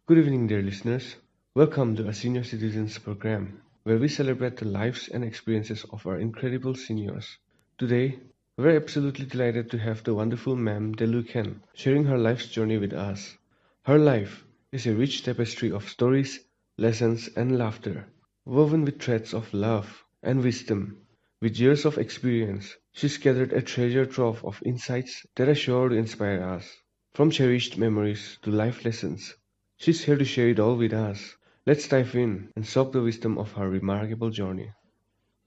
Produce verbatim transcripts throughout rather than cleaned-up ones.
Good evening, dear listeners. Welcome to a senior citizens program where we celebrate the lives and experiences of our incredible seniors. Today, we're absolutely delighted to have the wonderful Ma'am Delu Khen sharing her life's journey with us. Her life is a rich tapestry of stories, lessons, and laughter, woven with threads of love and wisdom. With years of experience, she's gathered a treasure trove of insights that are sure to inspire us. From cherished memories to life lessons, she's here to share it all with us. Let's dive in and soak the wisdom of her remarkable journey.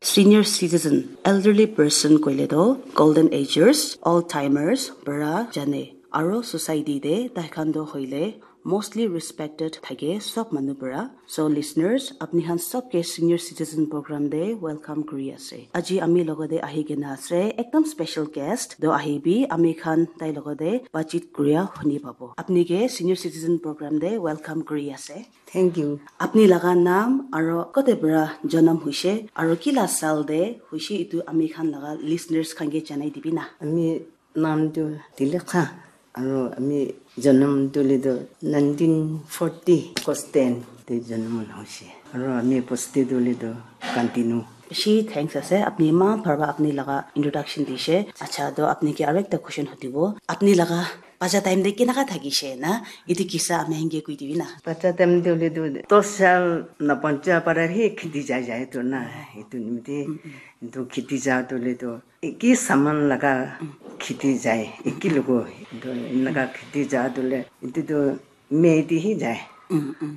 Senior citizen, elderly person koile toh golden agers, old timers para jane. Aro society te tai khan toh hoile mostly respected thake sob manu para. So listeners, apni khan sob ke senior citizen program te welcome kuri ase. Aji ami logote ahi kena ase ekdam special guest toh ahibi, ami khan tai logote baatchit kuria huni pabo. Apni ke senior citizen program te welcome kuri ase. Thank you. Apni laga naam aro kote para janam hoise aro kila saal te hoise, etu ami khan laga listeners khan ke janai dibi na. Ami naam tu Tilekha aro ami janam tu le tu nineteen forty August ten te janam hoise. Aro ami bosti tu le tu Kantinu. Bishi thanks ase, apni eman bhal para apni laga introduction dise. Acha, toh apni ke aro ekta question hudibo. Apni laga bacha time te kenaka thakise na? Etu kisa ami khan ke koi dibi na. Bacha time te hoile tu dos saal na pancha para hi kheti jai jai to na. Etu nimite etu kheti ja to le tu eki saman laga kheti jai, eki logo. Etu enaka kheti ja to le etu tu May te hi jai.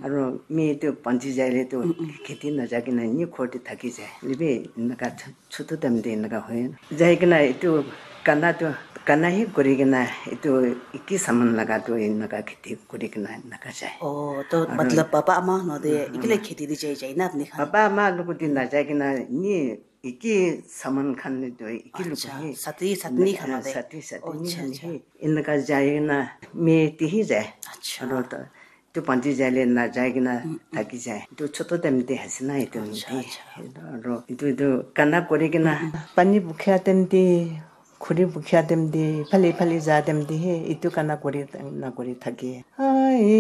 Aro May te panchi jai le tu kheti na jai kena ni ghor te thaki jai. Lebi enaka ch-, chotu time te enaka hoy. Jai kena etu kana tu, kana hi kuri kena etu eki saman laga tu enaka kheti kuri kena enaka jai. Oh, to matlab papa ama no de ikile kheti de jai jai na apni khan? Papa ama logo de na jai kena ni eki saman khan le tu eki logo hi. Sati, satni khan de. Sati, satni khan hi. Enaka jai kena May te hi jai. Acha. Aro to tu panchi jai le na jai kena thaki jai. Tu chotu time te ase na etu nimite. Aro etu tu kana kuri kena pani bukha time te, khuri bukha time te, phali phali ja time te hi etu kana kuri na kuri thake. Ai,